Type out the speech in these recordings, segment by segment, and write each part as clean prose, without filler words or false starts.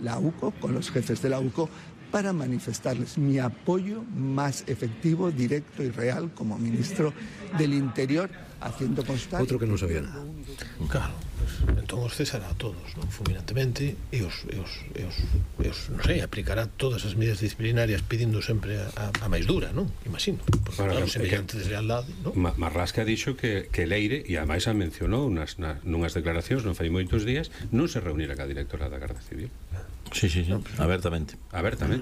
la UCO, con los jefes de la UCO, para manifestarles mi apoyo más efectivo, directo y real como ministro del Interior, haciendo constar... Outro que non sabía nada. Claro, pues, entón os cesará a todos, non? Fulminantemente, e os non sei, aplicará todas as medidas disciplinarias pedindo sempre a máis dura, non? Imagino, porque claro, semellante deslealdade, non? Marlaska dixo que Leire, e ademais a mencionou nunhas declaracións non fai moitos días, non se reunira ca directora da Garda Civil. Sí, abertamente.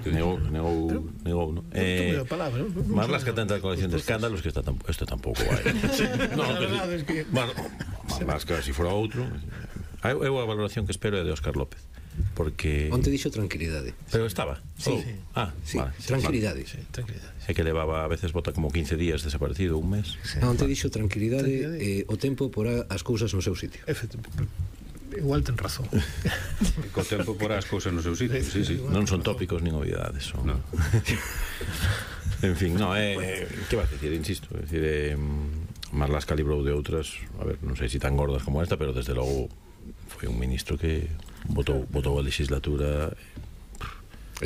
Negou, ¿no? Marlaska tenta a colección de escándalos que esto tampouco vai. Bueno, Marlaska, se fora outro. Eu a valoración que espero é de Óscar López, porque... Onte dixo tranquilidade. Pero estaba. Sí. Vale, tranquilidade. É que levaba, a veces bota como 15 días desaparecido, un mes. Onte dixo tranquilidade, o tempo porá as cousas no seu sitio. Igual ten razón. Co tempo porá as cousas no seu sitio. Sí. Non son tópicos nin novidades. No. En fin, que vas dicir, insisto, é dicir, Marlaska librou de outras, a ver, non sei se tan gordas como esta, pero desde logo foi un ministro que votou a legislatura.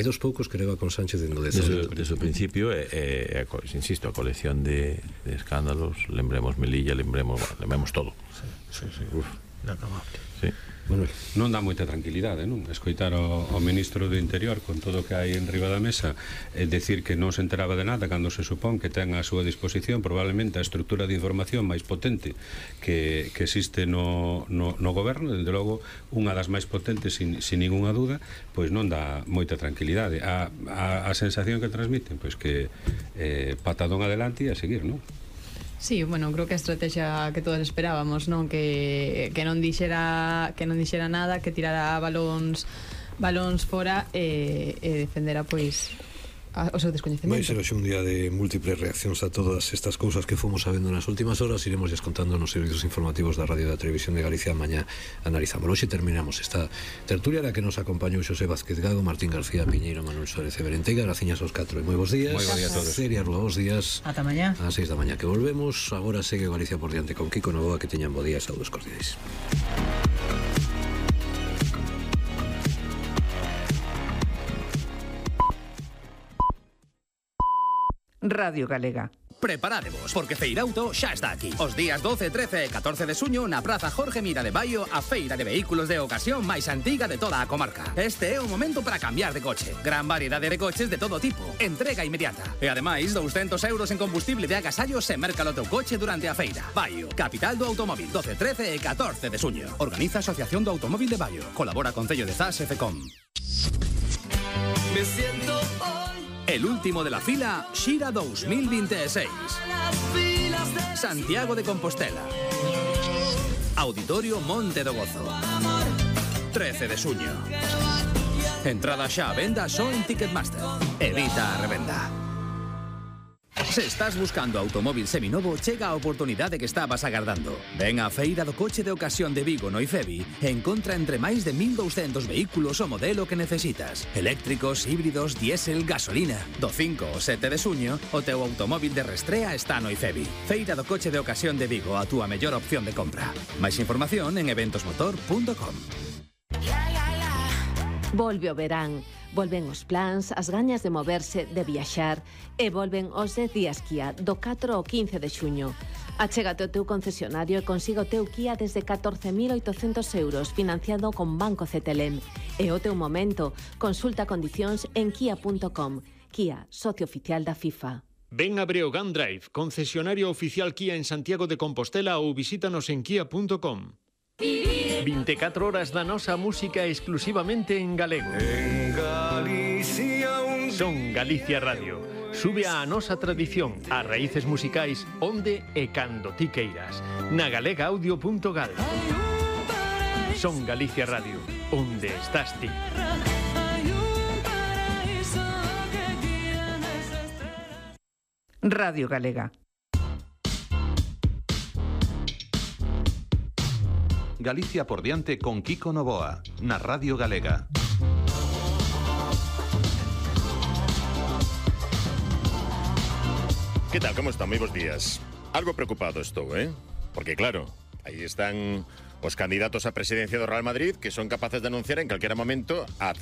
É dos poucos que leva con Sánchez desde o principio, insisto, a colección de escándalos, lembremos Melilla, lembremos todo. Sí. Inacabable. Sí. Manuel. Non dá moita tranquilidade, non? Escoitar ao ministro do Interior con todo o que hai en riba da mesa decir que non se enteraba de nada cando se supón que ten a súa disposición probablemente a estrutura de información máis potente que existe no goberno, desde logo unha das máis potentes sin ninguna duda, pois non dá moita tranquilidade. A sensación que transmiten, pois que patadón adelante e a seguir, non? Sí, bueno, creo que a estrategia que todos esperábamos, non? Que non dixera nada, que tirara balóns fora e defendera, pois, o seu descoñecemento. Vai ser hoxe un día de múltiples reaccións a todas estas cousas que fomos sabendo nas últimas horas. Iremos contando nos servizos informativos da Radio e da Televisión de Galicia. Mañá analizamos. Hoxe terminamos esta tertulia na que nos acompañou Xosé Vázquez Gago, Martín García Piñeiro, Manuel Suárez e Berenteiga. Graciñas aos 4 e moi bons días. Moi bons días a todos. Seria Rúa, bons días. Ata mañá. A 6 da mañá que volvemos. Agora segue Galicia por diante con Kiko Novoa. Que teñan bo día. Saúdos cordiais. Radio Galega. Preparádevos, porque Feirauto xa está aquí. Os días 12, 13 e 14 de suño na Praza Jorge Mira de Baio, a feira de vehículos de ocasión máis antiga de toda a comarca. Este é o momento para cambiar de coche. Gran variedade de coches de todo tipo. Entrega inmediata. E ademais, 200 euros en combustible de agasallo se merca o teu coche durante a feira. Baio, capital do automóvil, 12, 13 e 14 de suño. Organiza Asociación do Automóvil de Baio. Colabora Concello de Zas e FECOM. Me siento el último de la fila, Xira 2026. Santiago de Compostela. Auditorio Monte do Gozo. 13 de suño. Entrada xa a venda só en Ticketmaster. Evita a revenda. Se estás buscando automóvil seminovo, chega a oportunidade que estabas agardando. Ven á Feira do Coche de Ocasión de Vigo no IFEBI e encontra entre máis de 1.200 vehículos o modelo que necesitas. Eléctricos, híbridos, diésel, gasolina. Do 5 ao 7 de suño, o teu automóvil de restrea está no IFEBI. Feira do Coche de Ocasión de Vigo, a túa mellor opción de compra. Máis información en eventosmotor.com. Volve o verán, volven os plans, as gañas de moverse, de viaxar e volven os 10 días Kia do 4 ao 15 de xuño. Achégate ao teu concesionario e consiga o teu Kia desde 14.800 euros financiado con Banco CTLM. É o teu momento. Consulta condicións en kia.com. Kia, socio oficial da FIFA. Ven a Breogán Drive, concesionario oficial Kia en Santiago de Compostela ou visítanos en kia.com. 24 horas da nosa música exclusivamente en galego. En Galicia Son Galicia Radio. Sube a nosa tradición, as raíces musicais onde e cando ti queiras. Na galegaaudio.gal. Son Galicia Radio, onde estás ti. Radio Galega. Galicia por diante con Kiko Novoa, na Radio Galega. ¿Qué tal? ¿Cómo están? Muy buenos días. Algo preocupado estou, Porque claro, aí están os candidatos á presidencia do Real Madrid que son capaces de anunciar en calquera momento a